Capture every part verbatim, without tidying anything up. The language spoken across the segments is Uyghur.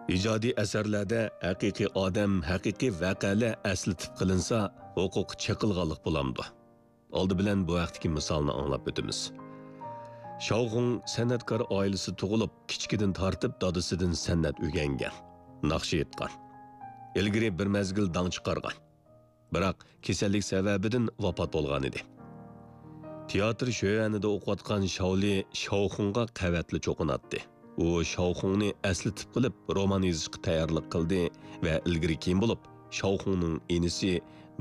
ئىجادىي ئەسەرلەردە ھەقىقىي ئادەم، ھەقىقىي ۋەقەلەر ئەسلىتىپ قېلىنسا، ھوقۇق چېقىلغانلىق بولامدۇ؟ ئالدى بىلەن بۇ ھەقتىكى مىسالنى ئاڭلاپ ئۆتىمىز. شاۋخۇڭ سەنئەتكار ئائىلىسىدە تۇغۇلۇپ، كىچىكىدىن تارتىپ دادىسىدىن سەنئەت ئۆگەنگەن، ناخشا ئېيتقان. ئىلگىرى بىر مەزگىل داڭ چىقارغان. بىراق كېسەللىك سەۋەبىدىن ۋاپات بولغانىدى. تىياتىر شۆيۈەنىدە ئوقۇۋاتقان شاۋلى شاۋخۇڭغا قەۋەتلا چوقۇناتتى. ئۇ شاۋخۇڭنى ئەسلىتىپ قېلىپ رومان يېزىشقا تەييارلىق قىلدى ۋە ئىلگىرى كېيىن بولۇپ شاۋخۇڭنىڭ ئىنىسى،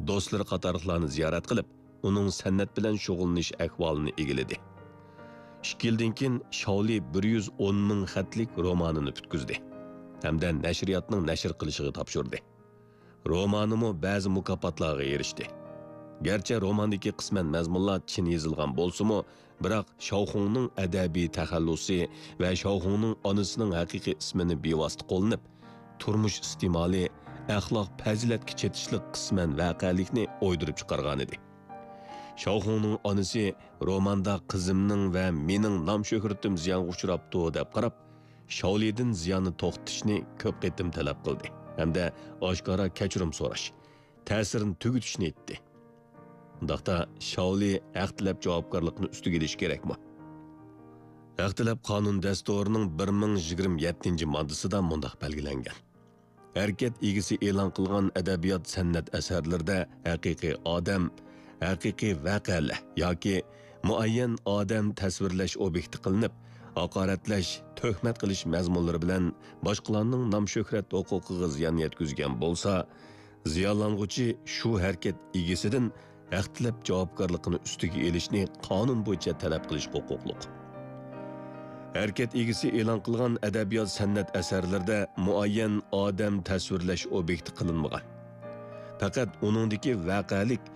دوستلىرى قاتارلىقلارنى زىيارەت قىلىپ، ئۇنىڭ سەنئەت بىلەن شۇغۇللىنىش ئەھۋالىنى ئىگىلىدى. ئىككى يىلدىن كېيىن شاۋلى بىر يۈز ئون مىڭ خەتلىك رومانىنى پۈتكۈزدى ھەمدە نەشرىياتنىڭ نەشر قىلىشىغا تاپشۇردى. رومانىمۇ بەزى مۇكاپاتلارغا ئېرىشتى. گەرچە روماندىكى قىسمەن مەزمۇنلار چىن يېزىلغان بولسىمۇ، بىراق شاۋخۇڭنىڭ ئەدەبىي تەخەللۇسى ۋە شاۋخۇڭنىڭ ئانىسىنىڭ ھەقىقىي ئىسمىنى بىۋاسىتە قوللىنىپ، تۇرمۇش ئىستېمالى، ئەخلاق پەزىلەتكە چېتىشلىق قىسمەن ۋەقەلىكنى ئويدۇرۇپ چىقارغانىدى. شاۋخۇڭنىڭ ئانىسى روماندا قىزىمنىڭ ۋە مېنىڭ نام-شۆھرىتىم زىيانغا ئۇچراپتۇ دەپ قاراپ، شاۋلىدىن زىياننى توختىتىشنى كۆپ قېتىم تەلەپ قىلدى ھەمدە ئاشكارا كەچۈرۈم سوراش، تەسىرنى تۈگىتىشنى ئېيتتى. ئۇنداقتا شاۋلى ھەق تىلەپ جاۋابكارلىقنى ئۈستىگە ئېلىشى كېرەكمۇ؟ ھەق تىلەپ قانۇن دەستۇرىنىڭ بىر مىڭ يىگىرمە يەتتىنچى ماددىسىدا مۇنداق بەلگىلەنگەن: ھەرىكەت ئىگىسى ئېلان قىلغان ئەدەبىيات-سەنئەت ئەسەرلىرىدە ھەقىقىي ئادەم، ھەقىقىي ۋەقەلەر ياكى مۇئەييەن ئادەم تەسۋىرلەش ئوبيېكتى قىلىنىپ، ھاقارەتلەش، تۆھمەت قىلىش مەزمۇنلىرى بىلەن باشقىلارنىڭ نام-شۆھرەت ھوقۇقىغا زىيان يەتكۈزگەن بولسا، زىيانلانغۇچى شۇ ھەرىكەت ئىگىسىدىن ھەق تىلەپ جاۋابكارلىقىنى ئۈستىگە ئېلىشنى قانۇن بويىچە تەلەپ قىلىشقا ھوقۇقلۇق. ھەرىكەت ئىگىسى ئېلان قىلغان ئەدەبىيات-سەنئەت ئەسەرلىرىدە مۇئەييەن ئادەم تەسۋىرلەش ئوبيېكتى قىلىنمىغان. پەقەت ئۇنىڭدىكى ۋەقەلىك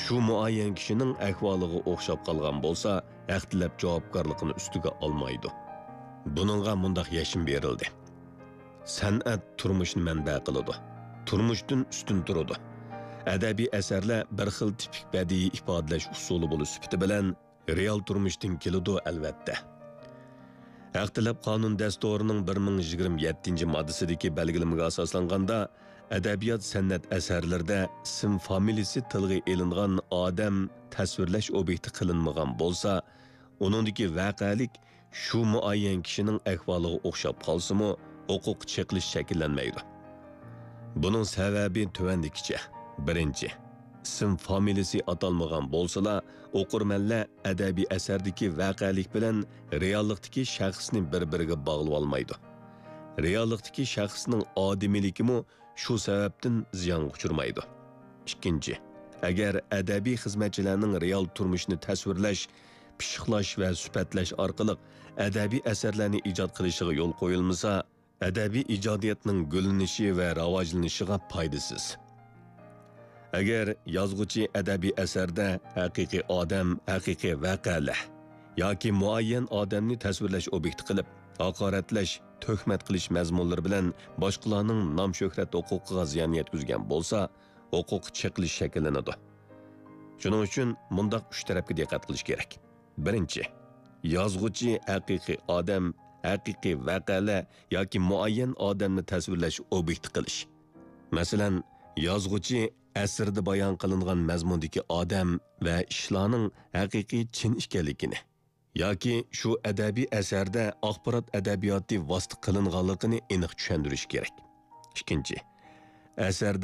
شۇ مۇئەييەن كىشىنىڭ ئەھۋالىغا ئوخشاپ قالغان بولسا، ھەق تىلەپ جاۋابكارلىقىنى ئۈستىگە ئالمايدۇ. بۇنىڭغا مۇنداق يەشمە بېرىلدى: سەنئەت تۇرمۇشنى مەنبە قىلىدۇ، تۇرمۇشتىن ئۈستۈن تۇرىدۇ. ئەدەبىي ئەسەرلەر بىر خىل تىپىك بەدىئىي ئىپادىلەش ئۇسۇلى بولۇش سۈپىتى بىلەن رېئال تۇرمۇشتىن كېلىدۇ، ئەلۋەتتە. ھەق تەلەپ قانۇن دەستۇرىنىڭ بىر مىڭ يىگىرمە يەتتىنچى ماددىسىدىكى بەلگىلىمىگە ئاساسلانغاندا، ئەدەبىيات-سەنئەت ئەسەرلىرىدە ئىسىم فامىلىسى تىلغا ئېلىنغان ئادەم تەسۋىرلەش ئوبيېكتى قىلىنمىغان بولسا، ئۇنىڭدىكى ۋەقەلىك شۇ مۇئەييەن كىشىنىڭ ئەھۋالىغا ئوخشاپ قالسىمۇ، ھوقۇق چېقىلىش شەكىللەنمەيدۇ. بۇنىڭ سەۋەبى تۆۋەندىكىچە: بىرىنچى، ئىسىم فامىلىسى ئاتالمىغان بولسىلا، ئوقۇرمەنلەر ئەدەبىي ئەسەردىكى ۋەقەلىك بىلەن رېئاللىقتىكى شەخسنى بىر-بىرىگە باغلىۋالمايدۇ. رېئاللىقتىكى شەخسنىڭ ئادىمىيلىكىمۇ شۇ سەۋەبتىن زىيانغا ئۇچرىمايدۇ. ئىككىنچى، ئەگەر ئەدەبىي خىزمەتچىلەرنىڭ رېئال تۇرمۇشنى تەسۋىرلەش، پىششىقلاش ۋە سۈپەتلەش ئارقىلىق ئەدەبىي ئەسەرلەرنى ئىجاد قىلىشىغا يول قويۇلمىسا، ئەدەبىي ئىجادىيەتنىڭ گۈللىنىشى ۋە راۋاجلىنىشىغا پايدىسىز. ئەگەر يازغۇچى ئەدەبىي ئەسەردە ھەقىقىي ئادەم، ھەقىقىي ۋەقەلەر ياكى مۇئەييەن ئادەمنى تەسۋىرلەش ئوبيېكتى قىلىپ، ھاقارەتلەش، تۆھمەت قىلىش مەزمۇنلىرى بىلەن باشقىلارنىڭ نام-شۆھرەت ھوقۇقىغا زىيان يەتكۈزگەن بولسا، ھوقۇق چېقىلىش شەكىللىنىدۇ. شۇنىڭ ئۈچۈن مۇنداق ئۈچ تەرەپكە دىققەت قىلىش كېرەك. بىرىنچى، يازغۇچى ھەقىقىي ئادەم، ھەقىقىي ۋەقەلەر ياكى مۇئەييەن ئادەمنى تەسۋىرلەش ئوبيېكتى قىلىش. مەسىلەن، يازغۇچى ئەسىرىدە بايان قىلىنغان مەزمۇندىكى ئادەم ۋە ئىشلارنىڭ ھەقىقىي چىن ئىكەنلىكىنى ياكى شۇ ئەدەبىي ئەسەردە ئاخبارات ئەدەبىياتى ۋاسىتە قىلىنغانلىقىنى ئېنىق چۈشەندۈرۈش كېرەك. ئىككىنچى، ئەسەردە